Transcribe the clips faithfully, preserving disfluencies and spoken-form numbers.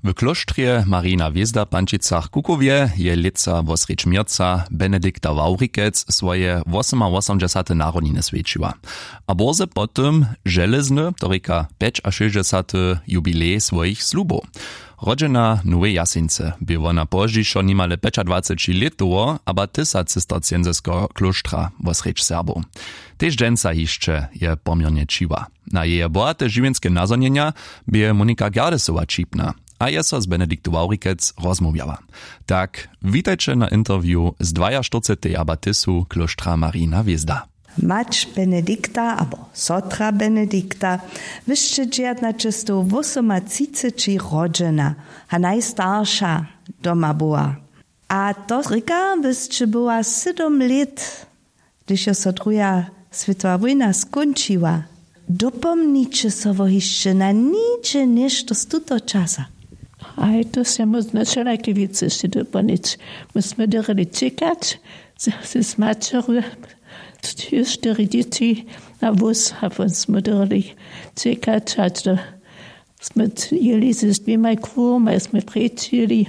W klóštrje Marijina hwězda w Pančicach-Kukowje je lětsa wosrjedź měrca Benedikta Wawrikec swoje wosomawosomdźesate narodniny swjećiła. A bórze po tym železny, to rěka pjećašěsćdźesaty jubilej swojich slubow. Rodźena w Nowej Jaseńcy bě wona pozdźišo nimale pjećadwaceći lětowo, aba tysac cistercienskeho klóštra wosrjedź Serbow. Tež dźensa hišće je poměrnje ćiwa. Na jeje bohate žiwjenske nazhonjenja bě Monika Gerdesowa ćipna a je so z Benediktu Wawrikec rozmołwjała. Tak, witajće na interview z dwajaštyrceteje abatisu klóštra Marijina hwězda. Mać Benedikta abo sotra Benedikta, wy sće dźewjatnaćestowwosomatřiceći rodźena a najstarša doma była. A to rěka, wy sće była sydom lět, hdyž jo so druha swětowa wójna skónčiła. Dopomniće so wo hišće na niče něšto z tutoho časa? Haj, to sće móžno wšelake wěcy sće dopomnić. My smy dyrili ćěkać z, z, z maćeru, štyri dźěći na wóz, a pón smy dyrili ćěkać hač do, smy jěli z dwěmaj kruhomaj smy preč jěli.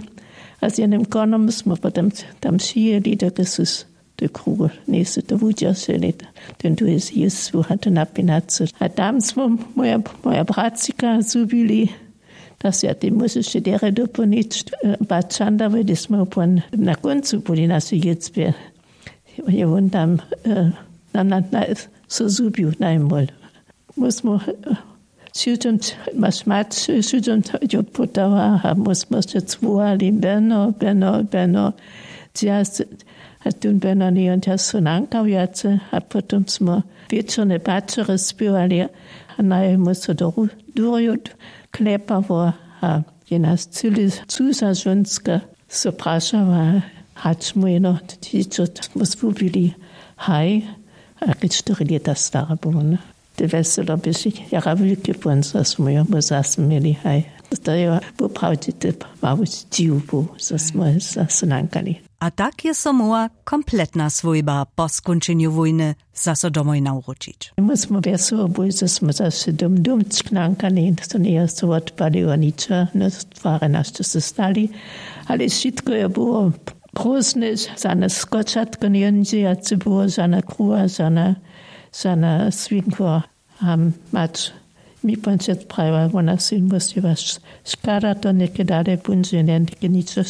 A z jednym konom smy potom tam přijěli, dokelž su te kruhy njejsu to wudźerželi, ten tu je zjěstwu a to napinacu. A tam smy moja, moja bratřika zhubili. To sće ja tej móžeš derje dopolnić, bačanda hdy smy pón na kóncu byli naše jětbje, je wón tam na, na, na, so zhubił najmól. Móžno wšudźom, maš mać wšudźom jo putała a móžno sće cwołali beno, beno, beno. A tón beno njejon tja so nankał wjace a potom smy wječorne paćery spěwali. A najmól so do durju klepało a je nas cyle cuza žónska so prašała, hač mój jeno dźěćo smy zhubili. Haj, a kej štyri lěta stara był wón. Te wjeselo běše jara wulke pón zo smy jo mój zas měli. Haj, to je woprawdźe te mały dźiw był zo smy zas nankali. A tak je so móhła kompletna swójba po skónčenju wójny zaso domoj nawróćić. My smy wjeselo byli zo smy zaso dom dom čknankali, to njeje so wotpaliło ničo, no twary našće so stali. Ale wšitko je było prózdne, žane skočatko njeńdźejace było, žana kruha, žana, žana swinkła. A mać mi pón přec prajiła, wona sej mósliła, škada to něke dale póńdźe njenke ničo,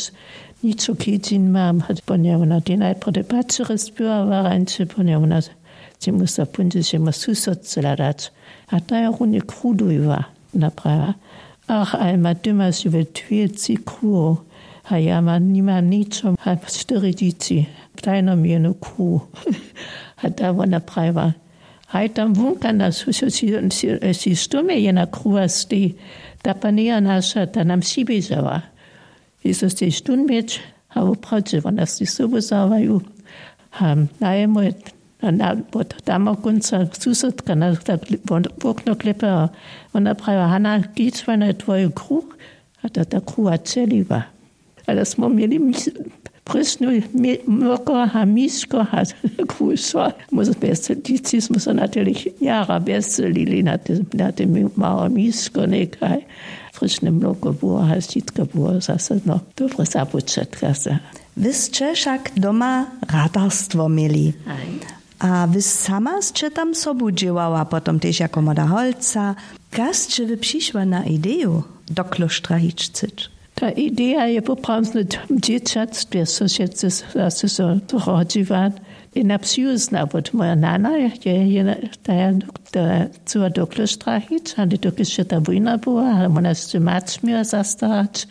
ničo kidźin mam hač pón je wona tej najprjedy paćery spěwała rańše pón je wona, čemu so póńdźeš jemu susodce hladać. A ta je runje krudujiła, wona prajiła, ach, ale ma ty maš we dwěci kruhow, a ja ma nimam ničo a štyri dźěći, daj nam jenu kruhu. A ta wona prajiła, haj tam wunka na sći stumje jena kruha stej, ta pa njeja naša, ta nam přiběžała. Jezus tež tón měć, a woprawdźe wona sej sobu zawaju. A najemój na, na, wot tamo kónca susodka na tak wokno klepe a wona prajiła, hana, kić wona je twoju kruh. A to ta kruha ćeliła. Ale smy měli prěšnu mokor a miško a krušo. Móže bjez dźěći smy so na tehle jara bjez lili na te, na te małe miško někaj. Fryšne mloko było a wšitko było zasadno dobre započatka se. Wy sće wšak doma ratarstwo měli. A wy sama sće tam sobu dźěłała potom tež jako młoda holca? Kaž sće wy přišła na ideju do klóštra hić chcyć? Ta ideja je poprawno w dźěćatstwje so wšetcy zaso so rodźiła. Jena přijuzna wot moja nana je jena, ta je chcyła do klóštra hić ale dokelž je ta wójna była ale wona sće mać měła zastarać,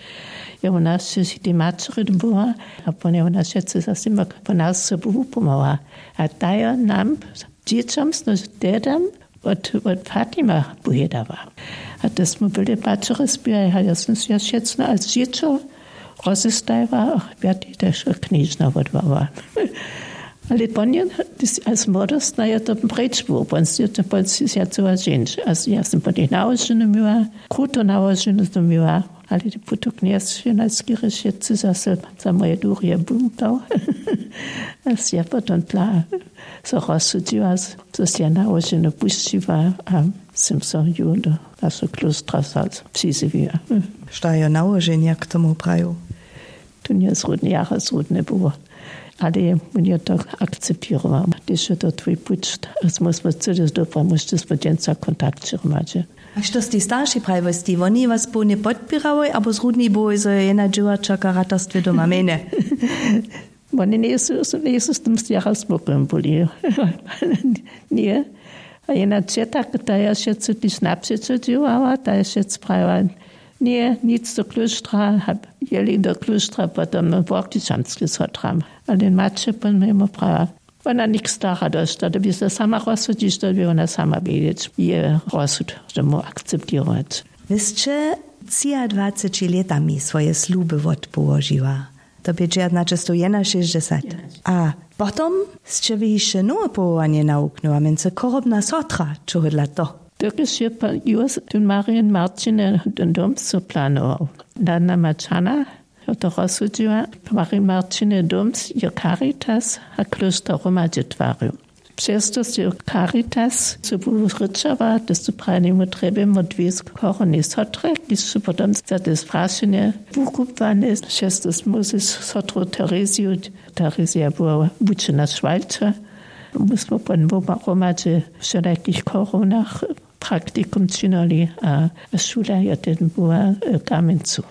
je wona sće tej maćery była. A pón je wona wšetcy zaso jima po nas sobu wupomała. A ta je nam dźěćom sno tedam wot, wot Fatima powědała. A to smy byli paćery spěwali a ja sym sej wšetcy a dźěćo rozestajiła a pjatej tež knježna wotwała. Ale pón je, als młodostna je to preč było, pón sej to pón sej sej cyła ženć a ja sym pón jich nałoženu měła, kruto nałoženu sym měła. Ale putok njesće najskerje wšetcy zaso za moje durje bumtał. A sej ja potom dla so rozsudźiła, zo sej ja nałoženu pušćiła a Sym so ju do našeho klóstra wzał, přizjewiła. Što jo nałoženja k tomu praju? Tu nje zrudne jara zrudne było, ale wón je to akceptował. Hdyž je to twój puć, a smy smy cyle dobra, móžete smy dźensa kontakt hromadźe. A što sti starši prajiłoj, sti woni was połnje podpěrałoj abo zrudni byłoj zo je jedna dźěłačerka w ratarstwje doma mjenje? Woni njejsu njejsu z tym jara spokojni byli. Ně. A jena ćeta, ta je wšetcy tež napřećo dźěłała, ta je wšetcy prajiła, ně, nic do klóštra. Jeli do klóštra potom workičamske sotram, ale maće pon mimo prawa. Wona nikt stara dosć, to by se sama rozsudźić, to by wona sama wědźeć je rozsud tomu akceptować. Wy sće třiadwaceći lětami swoje sluby wotpołožiła. To bě dźejaćnaćestowjenašěsćdźesat. A potom sće wy hišće nowe powołanje nawuknyła mjency chorobna sotra, čohodla to? Dokelž je pa jus tón marin marćine dom so planował, dana maćana jo to rozsudźiła. Marin marćine dom jo caritas a klóšter hromadźe twarił. Přez to sće caritas sobu rěčała, to su prajnemu trjebjemu dwě chorobne sotre, kiž su potom za te sprašenje wukubłane. Přez to smy z sotru tereziju, terezija była wučena šwalča, my smy pon hromadźe w wšelakich chorownach praktikum činili a šula je ten była w kamjencu.